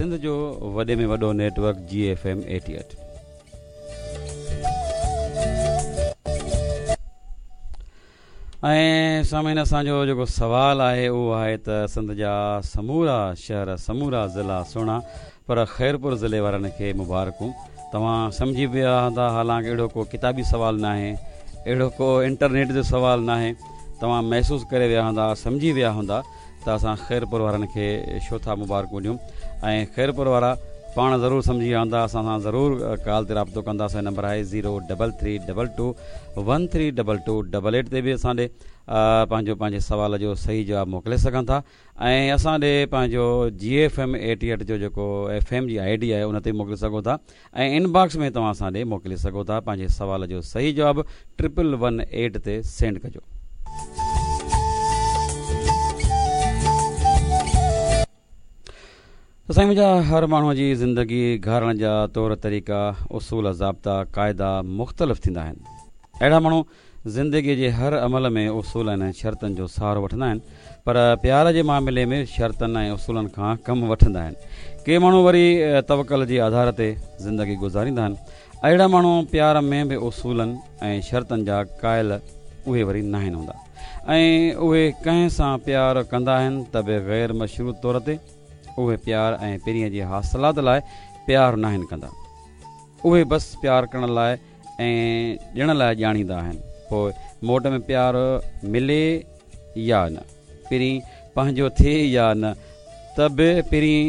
سنڌ جو وڏي ۾ وڏو network G F M 88. ۽ سامعين اسان جو جيڪو سوال آهي اهو آهي ته سنڌ جا سمورا شهر سمورا ضلعا سهڻا پر خيرپور ضلعي وارن کي مبارڪون توهان سمجهي ويا هوندا حالانڪ اهڙو ڪو ڪتابي سوال ناهي اهڙو ڪو انٽرنيٽ جو سوال ناهي توهان محسوس ڪري ويا هوندا سمجهي ويا هوندا ته اسان خيرپور وارن کي ڇو ٿا مبارڪون ڏيون ۽ خيرپور وارا پاڻ ضرور سمجهي ويا هوندا اسان سان ضرور ڪال تي رابطو ڪندا اسان جو نمبر آهي zero double three double two one three double two double eight تي به اسان ڏي پنهنجو پنهنجي سوال جو صحيح جواب موڪلي سگهن ٿا ۽ اسان ڏي پنهنجو جي ايف ايم ايٽي ايٽ جو جيڪو ايف ايم جي I D آهي ان تي موڪلي سگهو ٿا ۽ ان باڪس ۾ توهان اسان ڏي موڪلي سگهو ٿا پنهنجي سوال جو صحيح جواب ٽرپل ون ايٽ تي سينڊ ڪجو. ته سائين منهنجا هر ماڻهو جي زندگي گهارڻ جا طور طريقا اصول ضابطا قاعدا مختلف ٿيندا آهن اهڙا ماڻهو زندگيء جي هر عمل ۾ اصولن ۽ شرطن جو سهارو وٺندا آهن، پر پيار جي معاملي ۾ شرطن ۽ اصولن کان ڪم وٺندا آهن. ڪي ماڻهو وري توڪل جي آڌار تي زندگي گذاريندا آهن. اهڙا ماڻهو پيار ۾ به اصولن ۽ شرطن جا قائل اهي وري ناهن هوندا ۽ اهي ڪنهن سان پيار ڪندا آهن ته به غير مشروط طور تي اهي پيار ۽ پرينء جي حاصلات لاء پيار ناهن ڪندا. اهي بس پيار ڪرڻ لاء ۽ ڏيڻ لاء ڄاڻيندا آهن، پوء موٽ ۾ پيار ملي يا نه، پرين پنهنجو ٿئي يا نه ته به پرين.